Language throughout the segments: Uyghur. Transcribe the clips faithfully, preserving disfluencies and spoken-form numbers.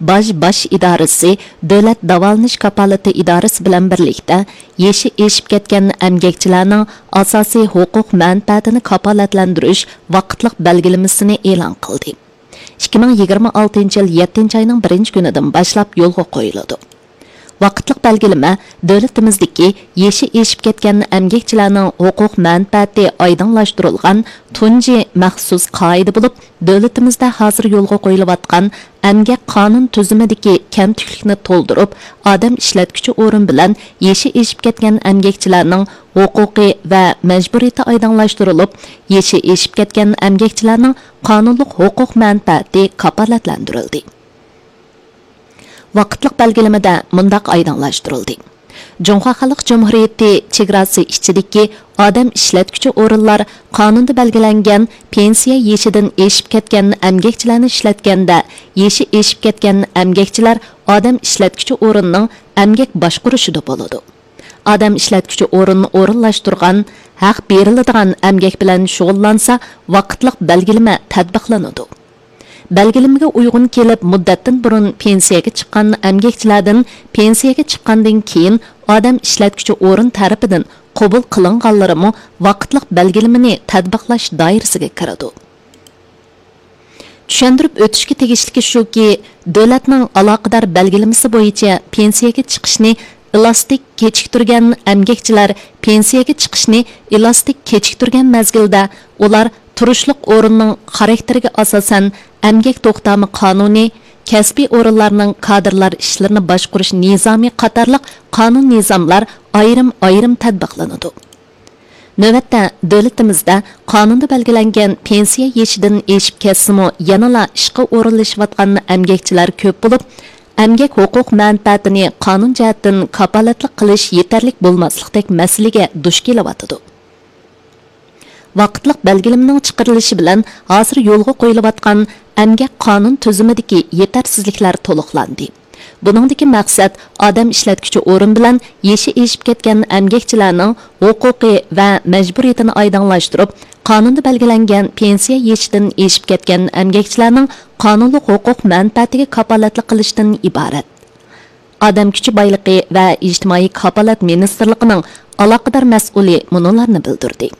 باج باش ئىدارىسى دۆلەت داۋالىنىش كاپالىتى ئىدارىسى بىلەن بىرلىكتە يېشى ئېشىپ كەتكەن ئەمگەكچىلەرنىڭ ئاساسىي ھوقۇق مەنپەئەتىنى كاپالەتلەندۈرۈش ۋاقىتلىق بەلگىلىمىسىنى ئېلان قىلدى. ئىككى مىڭ يىگىرمە ئالتىنچى يىل يەتتىنچى ئاينىڭ بىرىنچى كۈنىدىن باشلاپ يولغا قويۇلىدۇ. ۋاقىتلىق بەلگىلىمە دۆلىتىمىزدىكى يېشى ئېشىپ كەتكەن ئەمگەكچىلەرنىڭ ھوقۇق مەنپەئەتى ئايدىڭلاشتۇرۇلغان تۇنجى مەخسۇس قائىدە بولۇپ، دۆلىتىمىزدە ھازىر يولغا قويۇلۇۋاتقان ئەمگەك قانۇن تۈزۈمىدىكى كەمتۈكلۈكنى تولدۇرۇپ، ئادەم ئىشلەتكۈچى ئورۇن بىلەن يېشى ئېشىپ كەتكەن ئەمگەكچىلەرنىڭ ھوقۇقى ۋە مەجبۇرىيىتى ئايدىڭلاشتۇرۇلۇپ، يېشى ئېشىپ كەتكەن ئەمگەكچىلەرنىڭ قانۇنلۇق ھوقۇق مەنپەئەتى كاپالەتلەندۈرۈلدى. ۋاقىتلىق بەلگىلىمىدە مۇنداق ئايدىڭلاشتۇرۇلدى: جۇڭخۇا خەلق جۇمھۇرىيىتى چېگراسى ئىچىدىكى ئادەم ئىشلەتكۈچى ئورۇنلار قانۇندا بەلگىلەنگەن پېنسىيە يېشىدىن ئېشىپ كەتكەن ئەمگەكچىلەرنى ئىشلەتكەندە، يېشى ئېشىپ كەتكەن ئەمگەكچىلەر ئادەم ئىشلەتكۈچى ئورۇننىڭ ئەمگەك باشقۇرۇشىدا بولىدۇ. ئادەم ئىشلەتكۈچى ئورۇن ئورۇنلاشتۇرغان، ھەق بېرىلىدىغان ئەمگەك بىلەن شۇغۇللانسا، ۋاقىتلىق بەلگىلىمە تەتبىقلىنىدۇ. بەلگىلىمىگە ئۇيغۇن كېلىپ، مۇددەتتىن بۇرۇن پېنسىيەگە چىققان ئەمگەكچىلەردىن پېنسىيەگە چىققاندىن كېيىن ئادەم ئىشلەتكۈچى ئورۇن تەرىپىدىن قوبۇل قىلىنغانلىرىمۇ ۋاقىتلىق بەلگىلىمىنى تەتبىقلاش دائىرىسىگە كىرىدۇ. چۈشەندۈرۈپ ئۆتۈشكە تېگىشلىكى شۇكى، دۆلەتنىڭ ئالاقىدار بەلگىلىمىسى بويىچە پېنسىيەگە چىقىشنى ئېلاستىك كېچىكتۈرگەن ئەمگەكچىلەر پېنسىيەگە چىقىشنى ئېلاستىك كېچىكتۈرگەن مەزگىلدە ئۇلار تۇرۇشلۇق ئورۇننىڭ خاراكتېرىگە ئاساسەن ئەمگەك توختامى قانۇنى، كەسپىي ئورۇنلارنىڭ كادىرلار ئىشلىرىنى باشقۇرۇش نىزامى قاتارلىق قانۇن نىزاملار ئايرىم ئايرىم تەتبىقلىنىدۇ. نۆۋەتتە، دۆلىتىمىزدە قانۇندا بەلگىلەنگەن پېنسىيە يېشىدىن ئېشىپ كەتسىمۇ، يەنىلا ئىشقا ئورۇنلىشىۋاتقان ئەمگەكچىلەر كۆپ بولۇپ، ئەمگەك ھوقۇق مەنپەئەتىنى قانۇن جەھەتتىن كاپالەتلىك قىلىش يېتەرلىك بولماسلىقتەك مەسىلىگە دۇچ كېلىۋاتىدۇ. ۋاقىتلىق بەلگىلىمىنىڭ چىقىرىلىشى بىلەن ھازىر يولغا قويۇلۇۋاتقان ئەمگەك قانۇن تۈزۈمىدىكى يېتەرسىزلىكلەر تولۇقلاندى. بۇنىڭدىكى مەقسەت ئادەم ئىشلەتكۈچى ئورۇن بىلەن يېشى ئېشىپ كەتكەن ئەمگەكچىلەرنىڭ ھوقۇقى ۋە مەجبۇرىيىتىنى ئايدىڭلاشتۇرۇپ، قانۇندا بەلگىلەنگەن پېنسىيە يېشىدىن ئېشىپ كەتكەن ئەمگەكچىلەرنىڭ قانۇنلۇق ھوقۇق مەنپەئەتىگە كاپالەتلىك قىلىشتىن ئىبارەت. ئادەم كۈچى بايلىقى ۋە ئىجتىمائىي كاپالەت مىنىستىرلىقىنىڭ ئالاقىدار مەسئۇلى مۇنۇلارنى بىلدۈردى.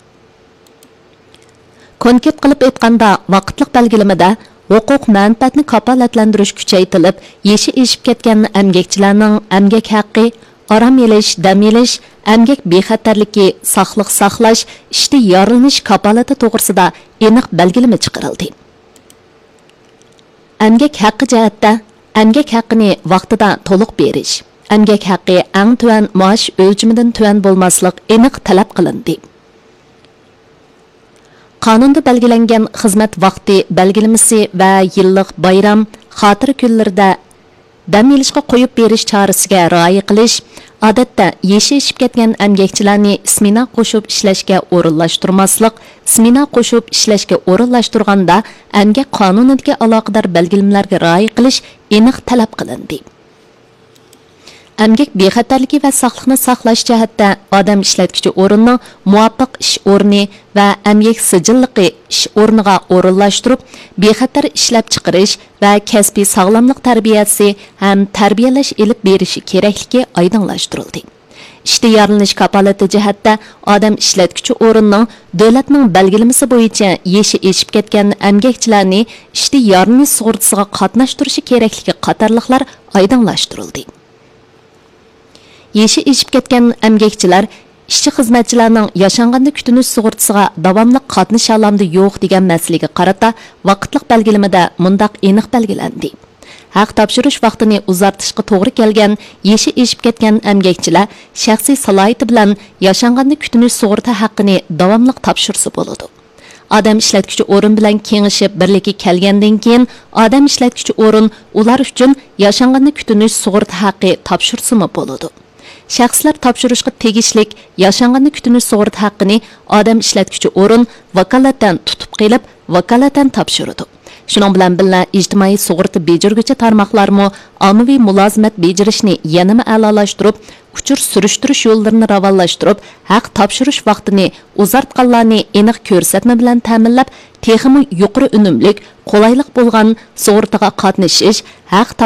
كونكرېت قىلىپ ئېيتقاندا، ۋاقىتلىق بەلگىلىمىدە ھوقۇق مەنپەئەتنى كاپالەتلەندۈرۈش كۈچەيتىلىپ، يېشى ئېشىپ كەتكەن ئەمگەكچىلەرنىڭ ئەمگەك ھەققى، ئارام ئېلىش، دەم ئېلىش، ئەمگەك بىخەتەرلىكى، ساقلىق ساقلاش، ئىشتا يارىلىنىش كاپالىتى توغرىسىدا ئېنىق بەلگىلىمە چىقىرىلدى. ئەمگەك ھەققى جەھەتتە، ئەمگەك ھەققىنى ۋاقتىدا تولۇق بېرىش، ئەمگەك ھەققى ئەڭ تۆۋەن مائاش ئۆلچىمىدىن تۆۋەن بولماسلىق ئېنىق تەلەپ قىلىندى. قانۇندا بەلگىلەنگەن خىزمەت ۋاقتى بەلگىلىمىسى ۋە يىللىق بايرام، خاتىرە كۈنلىرىدە دەم ئېلىشقا قويۇپ بېرىش چارىسىگە رىئايە قىلىش، ئادەتتە يېشى ئېشىپ كەتكەن ئەمگەكچىلەرنى سمېنا قوشۇپ ئىشلەشكە ئورۇنلاشتۇرماسلىق، سمېنا قوشۇپ ئىشلەشكە ئورۇنلاشتۇرغاندا ئەمگەك قانۇنىدىكى ئالاقىدار بەلگىلىمىلەرگە رىئايە قىلىش ئېنىق تەلەپ قىلىندى. ئەمگەك بىخەتەرلىكى ۋە ساقلىقنى ساقلاش جەھەتتە ئادەم ئىشلەتكۈچى ئورۇننىڭ مۇۋاپىق ئىش ئورنى ۋە ئەمگەك سىجىللىقى ئىش ئورنىغا ئورۇنلاشتۇرۇپ، بىخەتەر ئىشلەپچىقىرىش ۋە كەسپىي ساغلاملىق تەربىيەسى ھەم تەربىيەلەش ئېلىپ بېرىشى كېرەكلىكى ئايدىڭلاشتۇرۇلدى. ئىشتا يارىلىنىش كاپالىتى جەھەتتە ئادەم ئىشلەتكۈچى ئورۇننىڭ دۆلەتنىڭ بەلگىلىمىسى بويىچە يېشى ئېشىپ كەتكەن ئەمگەكچىلەرنى ئىشتا يارىلىنىش سۇغۇرتىسىغا قاتناشتۇرۇشى كېرەكلىكى قاتارلىقلار ئايدىڭلاشتۇرۇلدى. يېشى ئېشىپ كەتكەن ئەمگەكچىلەر ئىشچى-خىزمەتچىلەرنىڭ ياشانغاندا كۈتۈنۈش سۇغۇرتىسىغا داۋاملىق قاتنىشالامدۇ يوق دېگەن مەسىلىگە قارىتا ۋاقىتلىق بەلگىلىمىدە مۇنداق ئېنىق بەلگىلەندى: ھەق تاپشۇرۇش ۋاقتىنى ئۇزارتىشقا توغرا كەلگەن يېشى ئېشىپ كەتكەن ئەمگەكچىلەر شەخسىي سالاھىيىتى بىلەن ياشانغاندا كۈتۈنۈش سۇغۇرتا ھەققىنى داۋاملىق تاپشۇرسا بولىدۇ. ئادەم ئىشلەتكۈچى ئورۇن بىلەن كېڭىشىپ بىرلىككە كەلگەندىن كېيىن، ئادەم ئىشلەتكۈچى ئورۇن ئۇلار ئۈچۈن ياشانغاندا كۈتۈنۈش سۇغۇرتا ھەققى تاپشۇرسىمۇ بولىدۇ. شەخسلەر تاپشۇرۇشقا تېگىشلىك ياشانغاندا كۈتۈنۈش سۇغۇرتا ھەققىنى ئادەم ئىشلەتكۈچى ئورۇن ۋاكالىتەن تۇتۇپ قېلىپ، ۋاكالىتەن تاپشۇرىدۇ. شۇنىڭ بىلەن بىللە، ئىجتىمائىي سۇغۇرتا بېجىرگۈچى تارماقلارمۇ ئاممىۋى مۇلازىمەت بېجىرىشنى يەنىمۇ ئەلالاشتۇرۇپ، ئۇچۇر سۈرۈشتۈرۈش يوللىرىنى راۋانلاشتۇرۇپ، ھەق تاپشۇرۇش ۋاقتىنى ئۇزارتقانلارنى ئېنىق كۆرسەتمە بىلەن تەمىنلەپ، تېخىمۇ يۇقىرى ئۈنۈملۈك، قولايلىق بولغان سۇغۇرتىغا قاتنىشىش، ھەق تاپشۇرۇش